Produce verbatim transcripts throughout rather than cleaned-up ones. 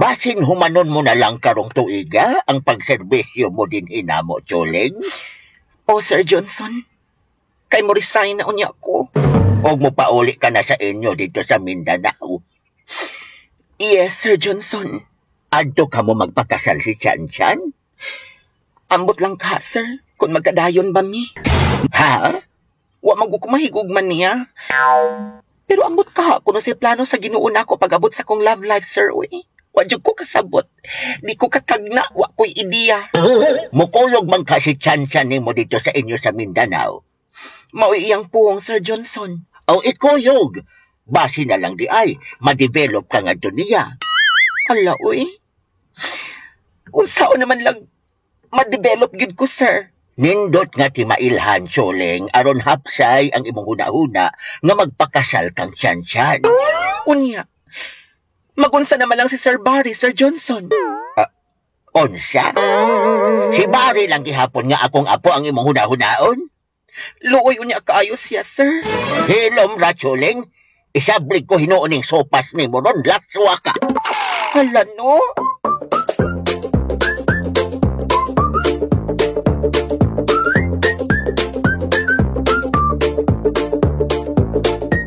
Basin humanon mo na lang karong tuiga ang pagserbisyo mo din hinamo, Choleng. O, Sir Johnson, kay mo resign na unya ko. Og mo pauli ka na sa inyo dito sa Mindanao. Yes, Sir Johnson. Adto ka mo magpakasal si Chan Chan? Ambot lang ka, sir. Kung magkadayon ba mi? Ha? Wa man ko mahigugman niya. Pero ambot ka, kuno si plano sa Ginoo nako pag-abot sa kong love life, sir, uy. Wa jud ko kasabot. Di ko katagna, wa ko'y ideya. Mukuyog man ka si Chan Chan nimo dito sa inyo sa Mindanao. Mao'y iyang puong, Sir Johnson. O ikuyog. Basi na lang di ay, ma-develop ka nga niya. Hala, uy. Unsaon naman lang ma-develop gid ko, sir. Nindot nga ti mailhan, Choleng, aron hapsay ang imong huna-huna nga magpakasal kang Chan Chan. Unya. Magunsa naman lang si Sir Barry, Sir Johnson. Unsa? Si Barry lang gihapon nga akong apo ang imong huna-hunaon? Luoy unya kaayo siya, sir. Hilom ra, Choleng. Isablig ko hinuoning sopas nimo ron, laswa ka. Hala, no?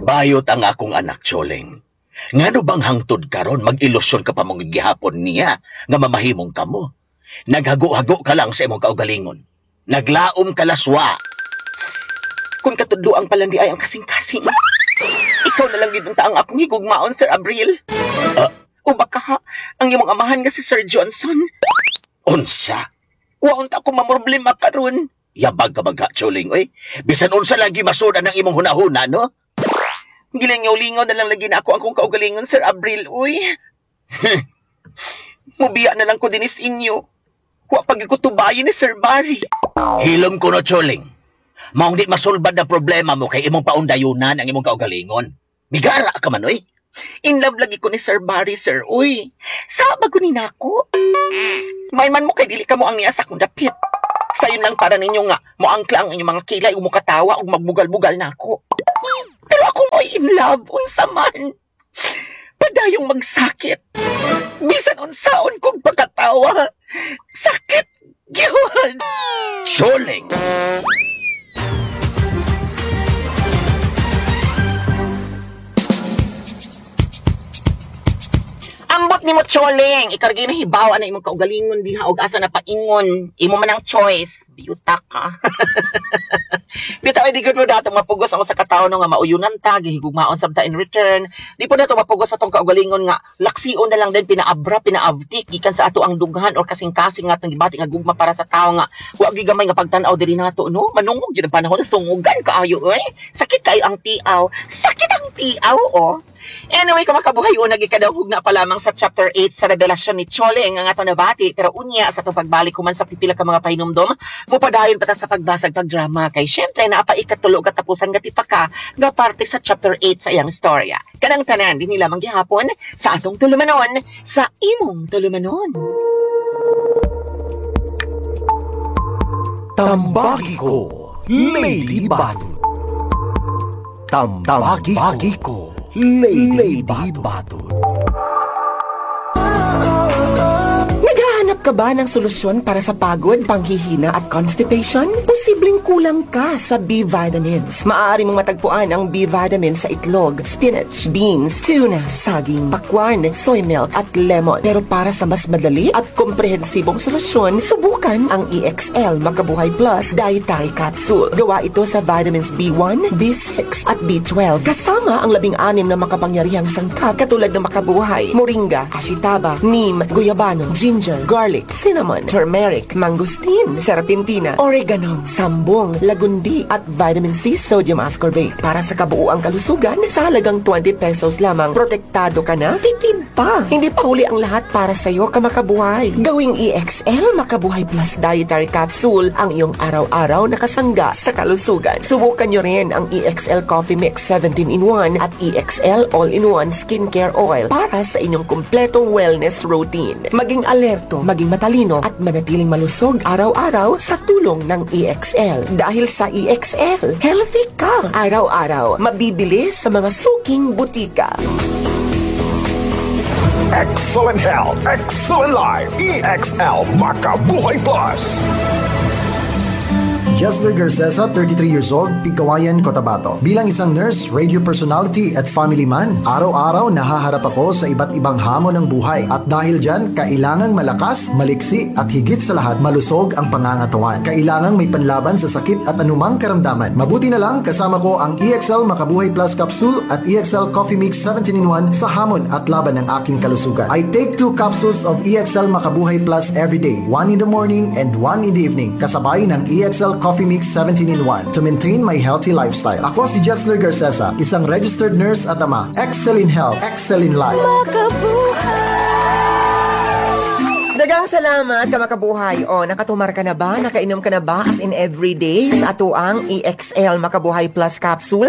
Bayot ang akong anak, Choleng. Ngano bang hangtod karon mag-ilusyon ka pa mong gihapon niya nga mamahimong kamo? Naghago-hago ka lang sa imong kaugalingon. Naglaom ka laswa. Kung katudloang palandi ay ang kasing-kasing. Ikaw na lang gid unta ang akong higugmaon, Sir Abril. Ah. O baka ha, ang imong amahan nga si Sir Johnson. Unsa? Wa unta ko mamroblema karon. Yabag ka bagha, Choleng, oy. Bisan unsa lagi masudan ang imong hunahuna, no? Gilingaw-lingaw na lang lagi na ako ang kong kaugalingon, Sir Abril, uy. Mubiya na lang ko dinis inyo. Wa pag ko tubayin ni Sir Barry. Hilom ko no, Choleng. Maong di masulbad na problema mo kay imong paundayunan ang imong kaugalingon. Migara ka man, oy. In love lagi ko ni Sir Barry, sir, uy. Sa ba ko ni nako? May man mo kay dili ka mo ang niya sa akong dapit. Sayon lang para ninyo nga, moangkla ang inyong mga kilay ug mukatawa ug magbugal-bugal nako. Pero ako mo'y in love, unsa man. Padayong magsakit. Bisan unsaon kog pagkatawa. Sakit gyud. Choleng! Ambot nimo Choleng, ikargay na hibaw na imong kaugalingon diha og asa na paingon. Imo man ang choice. Biyuta ka. Bitaw di gud mo datong mapugos ang usa ka tawo no nga mauyunan ta, gihigugmaon sabta in return. Di po nato mapugos atong kaugalingon nga laksion na lang din pinaabra, pinaabtik gikan sa ato ang dughan or kasing-kasing nga atong gibati nga gugma para sa tawo nga wa gyud gamay nga pagtan-aw diri nato no. Manungog gyud ang panahon, sungugan kaayo oy. Sakit kaayo ang tiaw. Sakit ang tiaw oh. Anyway, kung makabuhay, una gikadawhog na pa lamang sa chapter eight sa revelasyon ni Choleng ang atong nabati. Pero unya, sa itong pagbalik kuman sa pipila ka mga pahinumdom, mupadayon pa ta sa pagbasag pagdrama. Kay syempre, napaikatulo katapusan nga tipaka nga parte sa chapter eight sa iyang istorya. Kanang tanan, din lamang gihapon sa atong tulumanon, sa imong tulumanon. Tambagi ko, Lady Badut. Tambagi ko, Lady Badut. Naghahanap ka ba ng solusyon para sa pagod, panghihina at constipation? Posibleng kulang ka sa B vitamins. Maaari mong matagpuan ang B vitamins sa itlog, spinach, beans, tuna, saging, pakwan, soy milk at lemon. Pero para sa mas madali at komprehensibong solusyon, subukan ang E X L Makabuhay Plus Dietary Capsule. Gawa ito sa vitamins B one, B six at B twelve. Kasama ang labing-anim na makapangyarihang sangkap katulad ng makabuhay, moringa, ashitaba, neem, guyabano, ginger, garlic, cinnamon, turmeric, mangosteen, serpentina, oregano, sambong, lagundi, at vitamin C sodium ascorbate. Para sa kabuuang kalusugan, sa halagang twenty pesos lamang, protektado ka na, tipid pa. Hindi pa huli ang lahat para sa'yo, kamakabuhay. Gawing E X L Makabuhay Plus Dietary Capsule ang iyong araw-araw na kasangga sa kalusugan. Subukan nyo rin ang E X L Coffee Mix seventeen in one at E X L All-in-One Skincare Oil para sa inyong kumpletong wellness routine. Maging alerto, maging matalino at manatiling malusog araw-araw sa tulong ng E X L. Dahil sa E X L, healthy ka araw-araw. Mabibili sa mga suking butika. Excellent health, excellent life. E X L Makabuhay Plus. Jessler Garcesa, thirty-three years old, Pigkawayan, Cotabato. Bilang isang nurse, radio personality at family man, araw-araw nahaharap ako sa iba't ibang hamon ng buhay. At dahil dyan, kailangang malakas, maliksi at higit sa lahat, malusog ang pangangatawan. Kailangang may panlaban sa sakit at anumang karamdaman. Mabuti na lang, kasama ko ang E X L Makabuhay Plus Capsule at E X L Coffee Mix seventeen in one sa hamon at laban ng aking kalusugan. I take two capsules of E X L Makabuhay Plus every day, one in the morning and one in the evening, kasabay ng E X L Coffee Mix seventeen in one to maintain my healthy lifestyle. Ako si Jessler Garcesa, isang registered nurse at ama. Excel in health, excel in life. Daghang salamat, kamakabuhay. O, nakatumar ka na ba? Nakainom ka na ba? As in everyday sa atoang E X L Makabuhay Plus Capsule?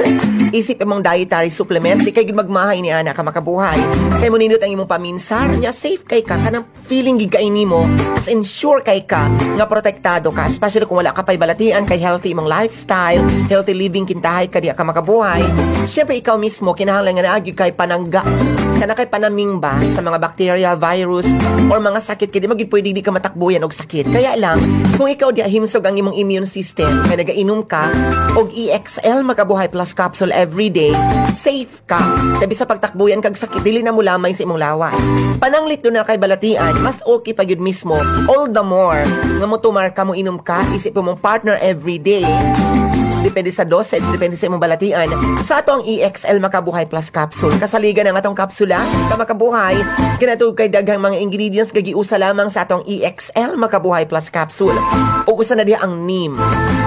Isip imong dietary supplement. Di kay gid magmahay ni ana, kamakabuhay. Kay mo nindot ang imong paminsar. Nya safe kay ka. Kanang feeling gid kay nimo. As in sure kay ka nga protektado ka. Especially kung wala ka pa'y balatian, kay healthy imong lifestyle, healthy living kintahay ka diya, kamakabuhay. Siyempre ikaw mismo kinahanglan nga naa gyud kay panangga kana kay panaming ba sa mga bacteria, virus, or mga sakit, kay di magid pwede di ka matakbuyan og sakit. Kaya lang, kung ikaw di himsog ang imong immune system, kay nagainom ka og E X L Makabuhay Plus Capsule every day, safe ka. Kay sa pagtakbuyan kag sakit, dili na mo lamay sa imong lawas. Pananglit duna kay balatian, mas okay pa gyud mismo, all the more, nga mo tumar ka, mo inom ka, isip mo mong partner every day, depende sa dosage, depende sa imong balatian. Sa ato ang E X L Makabuhay Plus Capsule. Kasaligan ang atong kapsula, kamakabuhay, kinatug kay daghang mga ingredients gagiusa lamang sa atong E X L Makabuhay Plus Capsule. Ug usa na diha ang neem.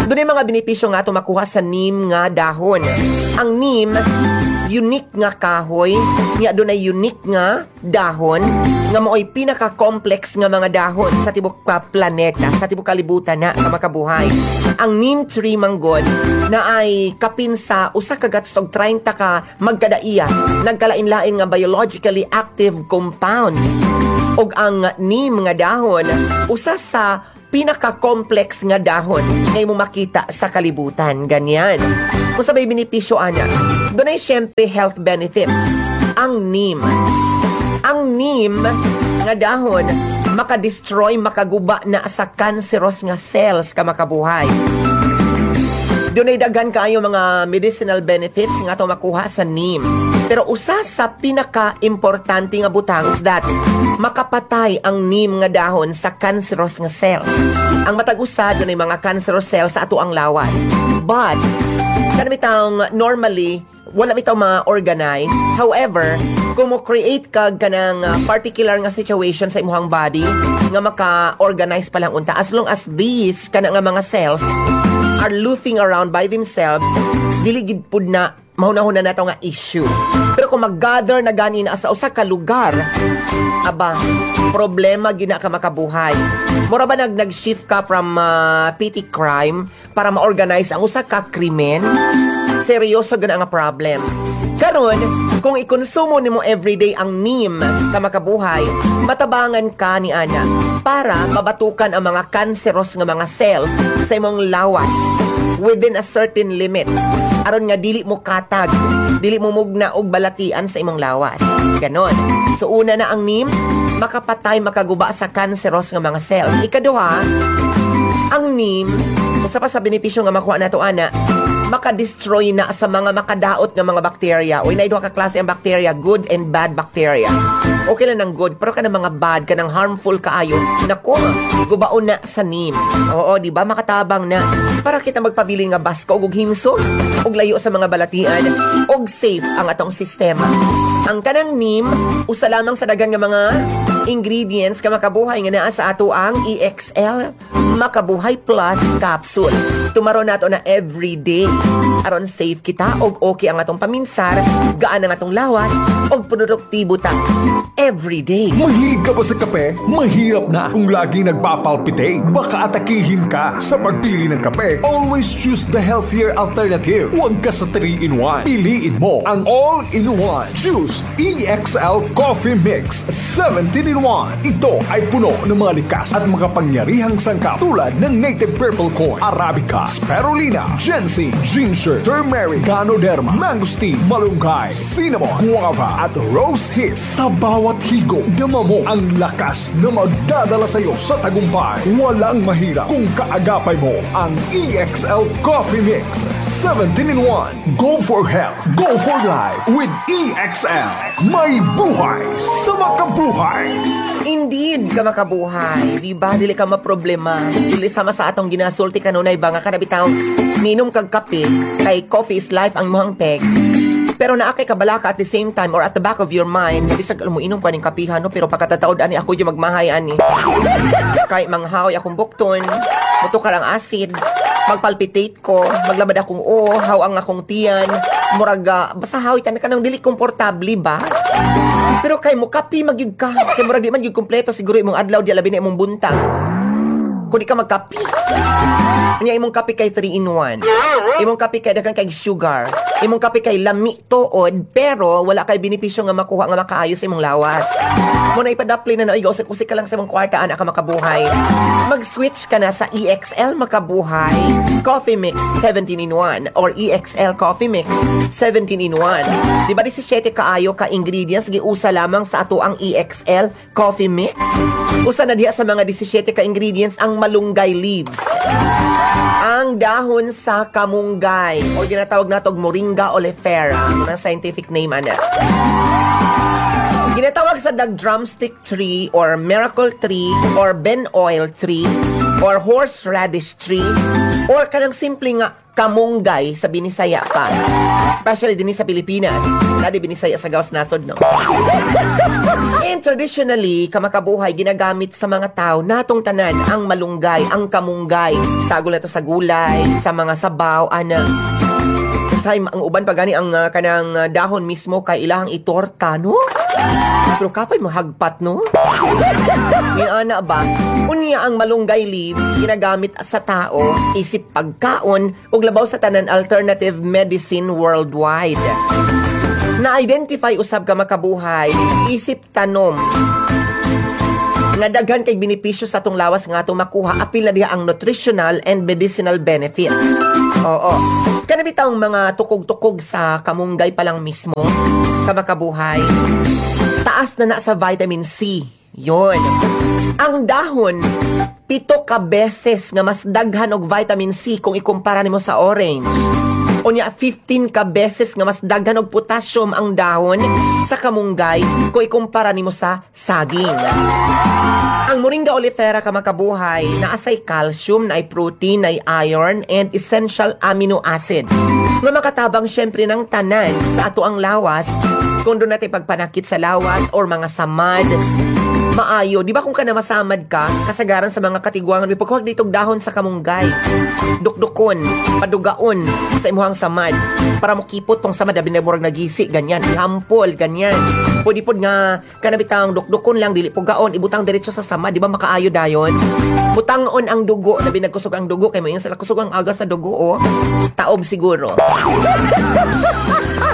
Dunay mga benepisyo nga ato makuha sa neem nga dahon. Ang neem, unique nga kahoy, nga dunay unique nga dahon nga mao'y pinaka-complex nga mga dahon sa tibok ka planeta, sa tibok kalibutan na, kamakabuhay. Ang neem tree manggod na ay kapin sa usa ka gatos og treinta ka magkadaiya nagkalain-lain nga biologically active compounds. Og ang neem nga dahon usa sa pinaka-complex nga dahon nga imo makita sa kalibutan, ganyan. Kung sa may benepisyo ana, dunay syempre health benefits ang neem. Ang neem nga dahon maka-destroy, makaguba na sa cancerous nga cells, ka makabuhay. Dunay daghan kaayo mga medicinal benefits nga ato makuha sa neem. Pero usa sa pinaka-importante nga butang is that makapatay ang neem nga dahon sa cancerous nga cells. Ang matag usa dunay mga cancerous cells sa ato ang lawas. But kanang bitawng normally wala bitaw ma-organize. However, kung mo create ka kanang uh, particular nga situation sa imong body nga maka-organize pa lang unta, as long as these kana nga mga cells are loafing around by themselves, dili gid pud na mahuna-huna nato nga issue. Pero kung mag-gather na gani na sa usa ka lugar, aba, problema gina ka, makabuhay. Mura ba nag nag-shift ka from uh, petty crime para ma-organize ang usa ka krimen? Seryoso gana nga problem. Karon, kung ikonsumo nimo everyday ang neem, ka makabuhay, matabangan ka ni ana para mabatukan ang mga cancerous nga mga cells sa imong lawas within a certain limit. Aron nga dili mo katag, dili mo mugna og balatian sa imong lawas. Ganon. So una na ang neem, makapatay, makaguba sa cancerous nga mga cells. Ikaduha, ang neem, usa pa sa benepisyo nga makuha nato ana, maka-destroy na sa mga makadaot nga mga bakterya. Uy, naay duha ka klase ang bakterya, good and bad bacteria. Okay lang ng good, pero kanang mga bad, kanang harmful kaayo, nako, gubaon na sa neem. Oo, di ba? Makatabang na. Para kita magpabilin nga basko og himsog, og layo sa mga balatian, og safe ang atong sistema. Ang kanang neem, usa lamang sa daghan nga mga ingredients ka, makabuhay, nga naa sa ato ang E X L Makabuhay Plus Capsule. Tumaro nato na everyday aron safe kita og okay ang atong paminsar, gaan ang atong lawas og produktibo ta everyday. Mahilig ka ba sa kape? Mahirap na kung laging nagpapalpitate. Baka atakihin ka. Sa pagpili ng kape, always choose the healthier alternative. Huwag ka sa three in one. Piliin mo ang all-in-one. Choose E X L Coffee Mix seventeen in one. Ito ay puno ng mga likas at makapangyarihang sangkap tulad ng native purple corn, arabica, spirulina, ginseng, ginger, turmeric, ganoderma, mangosteen, malunggay, cinnamon, guava at rose hips. Sa bawat Bawat higop, dama mo ang lakas na magdadala sa iyo sa tagumpay. Walang mahirap kung kaagapay mo ang E X L Coffee Mix seventeen in one. Go for health, go for life with E X L. May buhay sa makabuhay. Indeed, ka makabuhay. Di ba? Dili ka maproblema. Dili sama sa atong ginasulti kanunay ba nga kanabitaw ninom kag kape kay coffee is life ang imong peg. Pero naa kay kabalaka at the same time or at the back of your mind, bisag alam mo inom ka ning kapihan no, pero pagkatataod ani ako yung magmahay ani. Kay manghaoy akong bukton, mutukar ang acid, magpalpitate ko, maglabad akong o, haw ang akong tiyan, murag ah, basta haw tan kanang dili komportable ba? Pero kay mo kape magyud ka, kay murag di man gyud kompleto siguro imong adlaw di labi na imong buntag kung di ka magkape. Nya imong kape kay three in one. Imong kape kay daghan kay sugar. Imong kape kay lami tuod pero wala kay benepisyo nga makuha nga makaayo sa imong lawas. Mo na ipadapli na na usik-usik ka lang sa imong kwarta ana ka makabuhay. Mag-switch ka na sa E X L Makabuhay Coffee Mix seventeen in one or E X L Coffee Mix seventeen in one. Di ba labing siyete kaayo ka ingredients giusa lamang sa ato ang E X L Coffee Mix? Usa na diha sa mga labing siyete ka ingredients ang malunggay leaves. Ang dahon sa kamunggay o ginatawag natog Moringa oleifera, ang scientific name ana. Ginatawag sa dag drumstick tree or miracle tree or ben oil tree or horseradish tree or kanang simple nga kamunggay sa Binisaya pa. Especially din sa Pilipinas. Nadi Binisaya sa gawas nasod, no? And traditionally, kamakabuhay, ginagamit sa mga tao natong tanan ang malunggay, ang kamunggay. Sagol na to sa gulay, sa mga sabaw, ana. Sa ang uban pa gani ang uh, kanang uh, dahon mismo kay ilahang itorta, no? Pero kapay mahagpat, no? Ana ba? Unya ang malunggay leaves ginagamit sa tao isip pagkaon ug labaw sa tanan alternative medicine worldwide. Na-identify usab ka makabuhay isip tanom nga daghan kay benepisyo sa atong lawas nga atong makuha, apil na diha ang nutritional and medicinal benefits. Oo. Kana bitawng mga tukog-tukog sa kamunggay pa lang mismo, kamakabuhay. Taas na na sa vitamin C. Yun. Ang dahon, pito ka beses nga mas daghan og vitamin C kung ikumpara nimo sa orange. Unya fifteen ka beses nga mas daghan og potassium ang dahon sa kamunggay kung ikumpara nimo sa saging. Ang Moringa oleifera ka makabuhay naasay calcium, naay protein, naay iron and essential amino acids nga makatabang syempre ng tanan sa ato ang lawas kung doon natin pagpanakit sa lawas or mga samad maayo. Di ba kung ka na masamad ka, kasagaran sa mga katigwangan, may pagkuhag ditong dahon sa kamunggay. Dukdukon, padugaon sa imuhang samad. Para mokipot tong samad, abi na murag nagisi, ganyan. Ihampol, ganyan. Pwede pod nga, kanabitang dukdukon lang, dili pugaon, ibutang diretso sa samad, di ba makaayo dayon? Butangon ang dugo, labi nagkusog ang dugo, kay mo yung sila kusog ang aga sa dugo, oh. Taob siguro.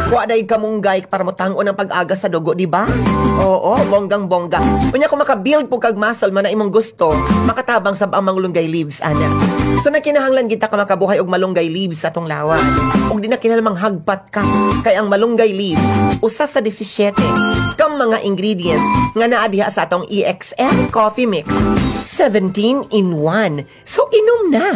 Kuha day kamunggay para motangon ang pag-aga sa dugo, di ba? Oo, bonggang bongga. Unya kung maka-build po kag muscle man na imong gusto, makatabang sab ang malunggay leaves ana. So nagkinahanglan kita ka makabuhay og malunggay leaves sa atong lawas. Ug di na kinahanglan hagpat ka kay ang malunggay leaves usa sa labing siyete kam mga ingredients nga naa diha sa atong E X L Coffee Mix seventeen in one. So inom na.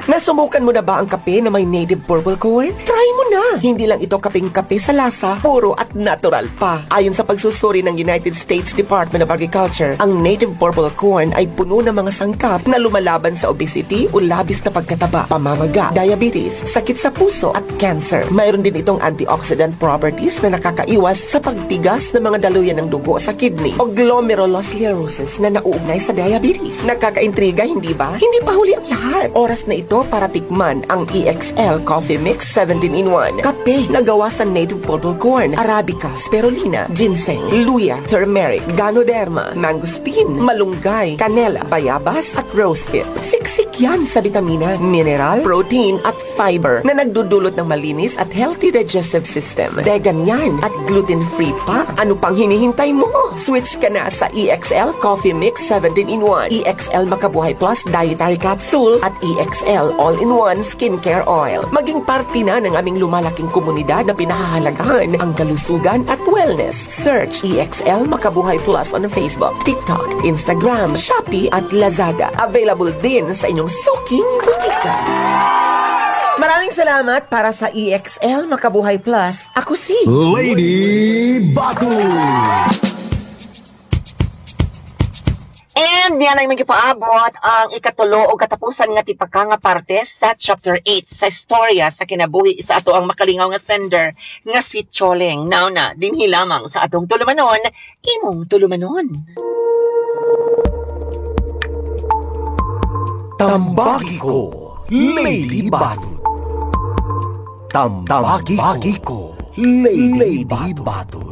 Nasubukan mo na ba ang kape na may native purple corn? Try mo na! Hindi lang ito kaping-kape sa lasa, puro at natural pa. Ayon sa pagsusuri ng United States Department of Agriculture, ang native purple corn ay puno ng mga sangkap na lumalaban sa obesity o labis na pagkataba, pamamaga, diabetes, sakit sa puso at cancer. Mayroon din itong antioxidant properties na nakakaiwas sa pagtigas ng mga daluyan ng dugo sa kidney o glomerulosclerosis na nauugnay sa diabetes. Nakakaintriga, hindi ba? Hindi pa huli ang lahat. Oras na ito para tikman ang E X L Coffee Mix seventeen in one. Kape na gawa sa native purple corn, arabica, spirulina, ginseng, luya, turmeric, ganoderma, mangosteen, malunggay, kanela, bayabas at rosehip. Siksik yan sa vitamina, mineral, protein at fiber na nagdudulot ng malinis at healthy digestive system. Vegan yan at gluten-free pa. Ano pang hinihintay mo? Switch ka na sa E X L Coffee Mix seventeen in one, E X L Makabuhay Plus Dietary Capsule at E X L E X L All-in-One Skincare Oil. Maging parte na ng aming lumalaking komunidad na pinahahalagahan ang kalusugan at wellness. Search E X L Makabuhay Plus on Facebook, TikTok, Instagram, Shopee at Lazada. Available din sa inyong suking butika. Maraming salamat para sa E X L Makabuhay Plus. Ako si Lady Batud. And yan ay magipaabot ang ikatulo o katapusan nga tipaka nga parte sa chapter eight sa istorya sa kinabuhi sa ato ang makalingaw nga sender nga si Choleng. Now na, dinhi lamang sa atong tulumanon, imong tulumanon. Tambagi ko, Lady Batud. Tambagi ko, Lady Batud.